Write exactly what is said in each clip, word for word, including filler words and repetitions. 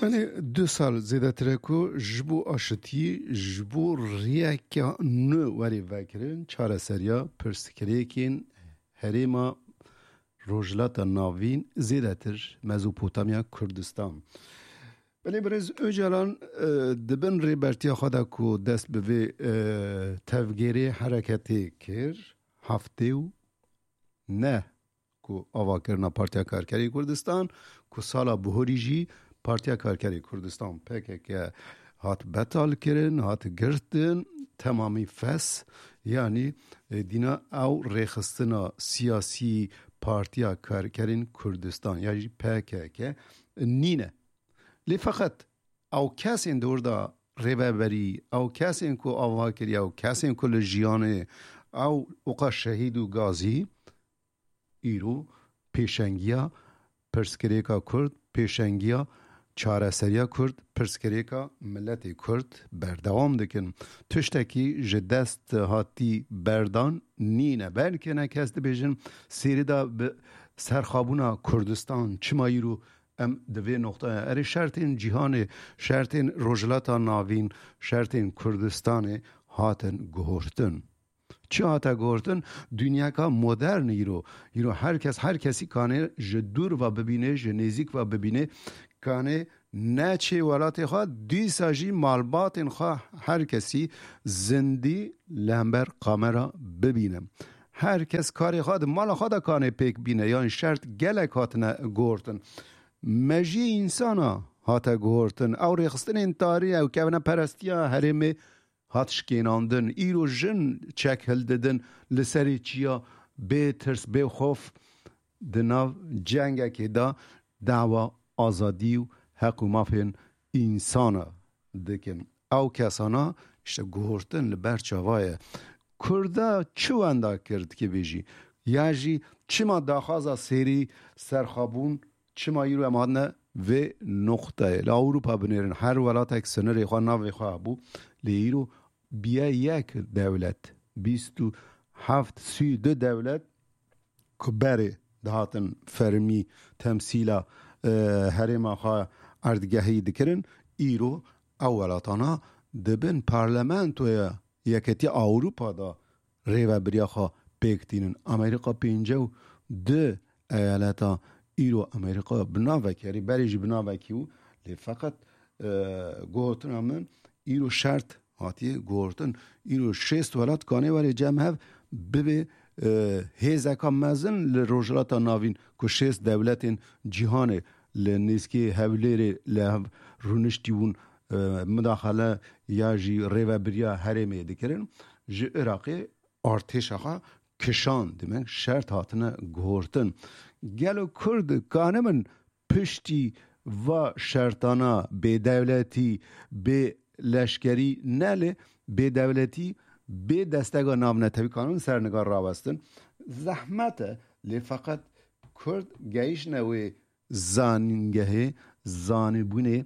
Belê du sal zêdetir e ku ji bo aşitî, ji bo riyeke nû werê vekirin, çareseriya pirsgirêkên herêma Rojhilata Navîn, zêdetir Mezopotamya Kurdistan. Belê birêz Ocalan, e, di bin rêbertiya xwe de ku dest bi vê, e, tevgêrê hereketê kir, heftê û neh ku avakirina Partiya Karkerê Kurdistan, ku sala bihorî jî Partiya Karkerê Kurdistan, P K K, hat betal kirin, hat girtin, temamî fes, yanî, e, dîna ew rêxistina siyasî Partiya Karkerên Kurdistan, ya jî P K K, nîne. Lê feqet ew kesên di wir de rêveberî, ew kesên ku ava kiriye, ew kesên ku li jiyanê ew oqa şehîd û gazî, îro pêşengiya pirsgirêka Kurd, pêşengiya çareseriya Kurd, pirsgirêka miletê Kurd berdewam dikin. Tiştekî ji dest hatî berdan nîne. Belkî ne kes dibêjin, sêrî de bi serxabûna Kurdistan çima îro em di vê noqtaya, erê, şertên cîhanê, şertên Rojhilata Navîn, şertên Kurdistanê hatin guhortin. Çi hate guhortin? Dinyaka modern îro. Îro her kes, her kesî kanê ji dûr ve bibîne, ji nêzîk ve bibîne, kanê neçê welatê xwe, dîsa jî malbatên xwe her kesî zindî li hember kamera bibîne. Her kes karê xwe di mala xwe de kanê pêk bîne, yan şert gelek hatine guhortin. Mejiyê însana hate guhortin. Ew rêxistinên tarî, ew kevneperestiya herêmê hat şikênandin. Îro jin çek hildidin li serê çiya, bê tirs, bê xof di nav cengekê de dawa azadî û heq û mafên însana dikin. Ew kesana işte guhortin li ber çava ye. Kurda çi wenda kir dikê bêjî? Ya jî çima daxwaza sêrî, serxabûn, çima îro em hatine vê noqteyê? Li Ewropa binêrin, her welatek sinirê xwe navê xwe hebû, lê îro biye yek dewlet, bîst û heft, sî û du dewlet ku berê dihatin fermî temsîla, e, herêma xwe erdgehî dikirin, îro ew welatana di bin parlamentoya Yeketiya Ewropa de rêvebiriya xwe pêk tînin. Amerîka pêncî û du eyaleta îro Amerîka bi navekî, erê, berê jî bi navekî bû, lê feqet, e, gotina min îro şert hatiye guhortin. Îro şêst welat kanê were cem hev, bibe, e, hêzeka mezin li Rojhilata Navîn, ku şêst dewletên cîhanê li nêzkê Hewlêrê li hev rûniştî bûn, e, mudaxele ya jî rêvebiriya herêmê dikirin. Ji Iraqê artêşa xwe kişand, demek şert hatine guhortin. Gelo Kurd kanibin piştî va şertana bêdewletî, bê leşkerî, ne lê bêdewletî, bê destega navnetewî kanin serniga rawestin? Zehmet e, lê feqet Kurd gehiştine wê zanîngehê, zanîbûnê,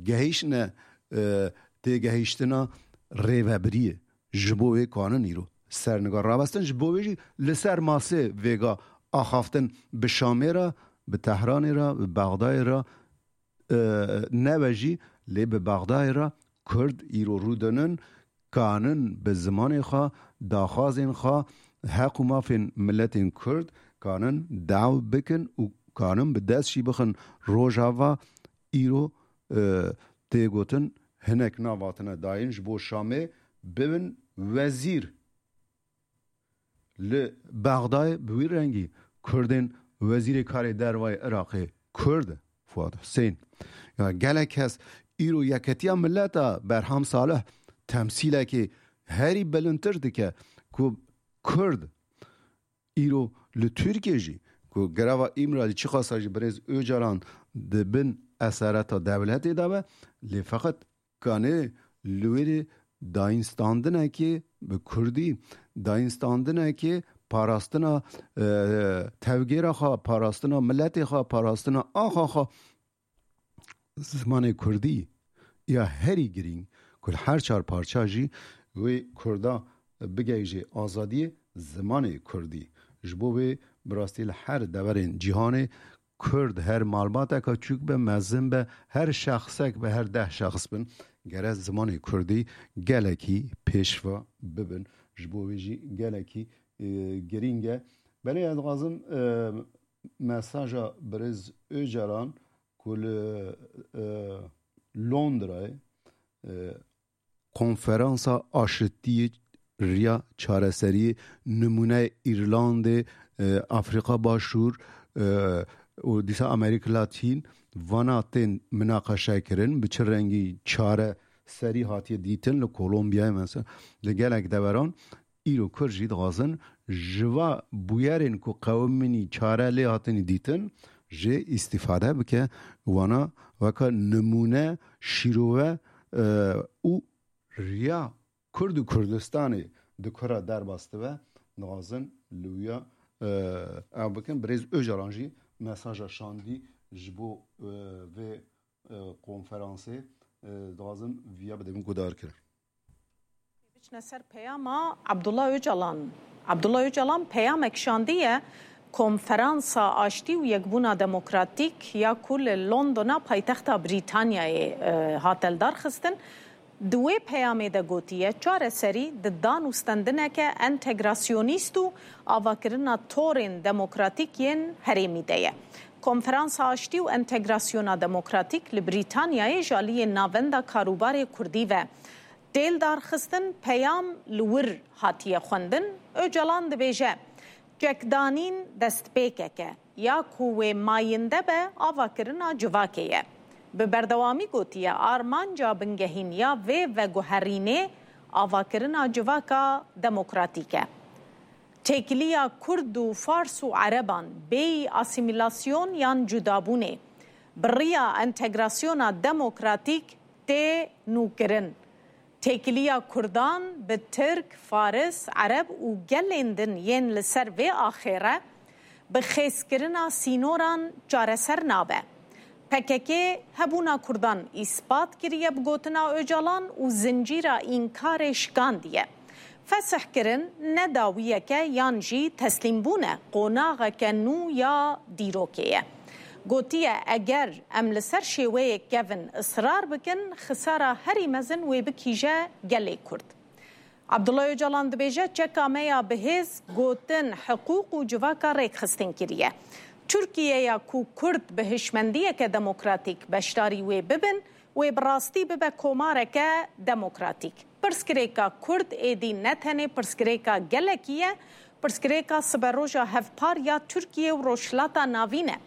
gehiştine, e, têgehiştina rêvebiriyê. Ji bo wê kanin îro serniga rawestin, ji bo wê jî li ser masê vêga axaftin bi Şamê re, bi Tehranê re, bi Bexdayê re, e, nebe jî, lê bi Bexdayê re Kurd îro rûdinin, kanin bi zimanê xwe, daxwazên xwe, heq û mafên miletên Kurd kanin daw bikin û kanin bi dest jî bixin Rojava. Îro, e, tê gotin, hinek nav hatine dayîn ji bo Şamê bibin wezîr. Li Bexdayê bi wî rengî Kurdên wezîrê karê dervayê Iraqê Kurd e, Fuad Husên. Ya gelek kes îro Yeketiya Mileta Berham Salih temsîlekê herî bilindtir dike ku Kurd îro li Tirkiyê jî, ku greva Îmralî çiqasa jî birêz Ocalan di bin esareta dewletê de be, lê feqet kanê li wêrê dayînstandinekê bi kurdî, dayînstandinekê parastina, e, tevgêra xwe, parastina miletê xwe, parastina axa xwe, zimanê kurdî ya herî girîng ku li her çar parça jî wê kurda bigihîje azadiyê, zimanê kurdî. Ji bo wê bi rastî li her deverên cîhanê Kurd, her malbateka çûk be, mezin be, her şexsek be, her deh şexs bin, gere zimanê Kurdî gelekî pêşva bibin. Ji bo wê jî gelekî, e, girîng e. Belê ez dixwazim, e, mesaja birêz Ocalan ku li, e, Londrayê, e, konferansa aşitiyê, riya çareseriyê, nimûne Îrlandê, e, Afrîka Başûr, e, û dîsa Amerîka Latîn, vana tên minaqeşe kirin, bi çi rengî çareserî hatiye dîtin li Kolombiyayê mesela, li gelek deveran. Îro Kurd jî dixwazin ji va bûyerên ku qewimînî çare lê hatinî dîtin jê îstîfade bike, wana weke nimûne, şîrove, e, û riya Kurd û Kurdistanê di ku re derbas dibe, dixwazin li wîya, e, ew bikin. Birêz Ocalan jî mesaja şandî ji bo, e, vê, e, konferansê, e, dixwazim viya bide min guhdar kirin. Biçine ser peyama Abdullah Ocalan. Abdullah Ocalan peyamek şandiye Konferansa Aştî û Yekbûna Demokratîk ya ku li Londona paytexta Brîtanyayê, e, hate lidarxistin. Di wê peyamê de gotiye, çareserî di dan û stendineke entegrasyonîst û avakirina torên demokratîk yên herêmî de ye. Konferansa Aştî û Entegrasyona Demokratîk li Brîtanyayê ji aliyê Navenda Karûbarê Kurdî ve tê lidarxistin, peyam li wir hatiye xwendin. Ocalan dibêje, çekdanîn destpêkek e, ya ku wê mayînde be, avakirina civakê ye. Bi berdewamî gotiye, armanca bingehîn ya vê veguherînê avakirina civaka demokratîk e. Têkiliya Kurd û Fars û Ereban bêyî asîmîlasyon yan cudabûnê, bi riya entegrasyona demokratîk tê nûkirin. Têkiliya Kurdan bi Tirk, Faris, Ereb û gelên din yên li ser vê axê re bi xêzkirina sînoran çareser nabe. P K K hebûna Kurdan îspat kiriye bi gotina Ocalan û zincîra înkarê şikandiye. Fesihkirin ne dawiyeke yan jî teslîmbûn e, qonaxeke nû ya dîrokê ye. Gotiye, eger em li ser şêweyek kevin israr bikin, xisara herî mezin wê bikîje gelê Kurd. Abdullah Ocalan dibêje, çeka me ya bi hêz, gotin, hiqûq û civaka rêkxistin kiriye. Tirkiyeya ku Kurd bi hişmendiyeke demokratîk beşdarî wê bibin, wê bi rastî bibe komareke demokratîk. Pirsgirêka Kurd êdî ne tenê pirsgirêka gelekî ye, pirsgirêka siberoja hevpar ya Tirkiye û Rojhilata Navîn e.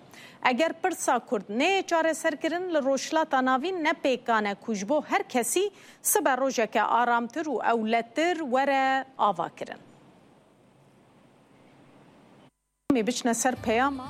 Eger pirsa Kurd neyê çareserkirin, li Rojhilata Navîn ne pêkan e ku ji bo her kesî siberojeke aramtir û ewletir were avakirin. Em ê biçine ser peyama.